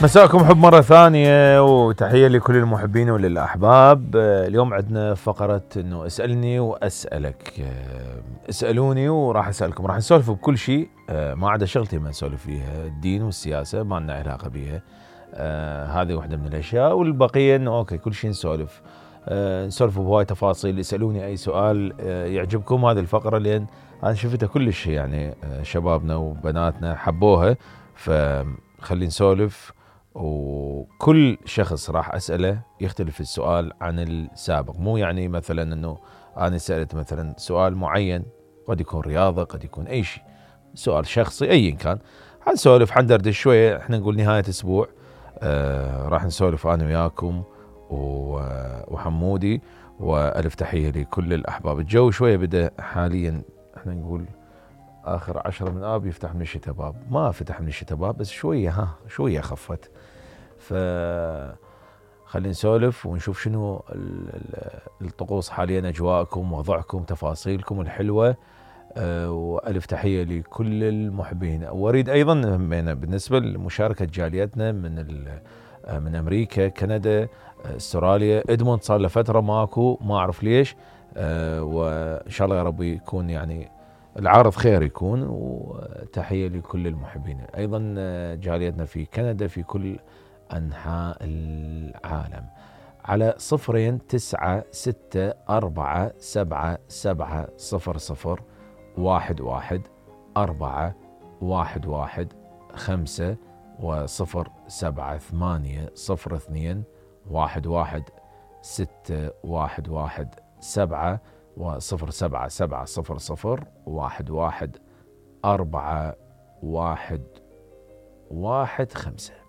مساكم حب مرة ثانية وتحية لكل المحبين وللأحباب. اليوم عندنا فقرة انه اسألني واسألك. اسألوني وراح اسألكم، راح نسولف بكل شيء، ما عدا شغلتي ما نسولف فيها، الدين والسياسة ما لنا علاقة بيها. هذه واحدة من الاشياء، والبقية انه اوكي كل شيء نسولف. نسولف بهواي تفاصيل. اسألوني اي سؤال يعجبكم. هذه الفقرة لان انا شفتها كلش يعني شبابنا وبناتنا حبوها، فخلي نسولف. وكل شخص راح أسأله يختلف السؤال عن السابق، مو يعني مثلا أنه أنا سألت مثلا سؤال معين، قد يكون رياضة، قد يكون أي شيء، سؤال شخصي أي كان، حنسولف حندردش شوية. احنا نقول نهاية أسبوع راح نسولف أنا وياكم وحمودي، وألف تحية لكل الأحباب. الجو شوية بدأ حاليا، احنا نقول آخر 10 من آب يفتح من الشتاء باب، ما فتح من الشتاء باب بس شوية شوية خفت. فخلينا نسولف ونشوف شنو الطقوس حاليا، أجواءكم، وضعكم، تفاصيلكم الحلوة. وألف تحية لكل المحبين. وأريد أيضا بالنسبة لمشاركة جاليتنا من أمريكا، كندا، استراليا، إدموند صار له فترة ماكو، ما أعرف ليش. وإن شاء الله يا رب يكون يعني العارض خير يكون. وتحية لكل المحبين أيضا جاليتنا في كندا في كل أنحاء العالم، على 0964777111145 و078 و077001115.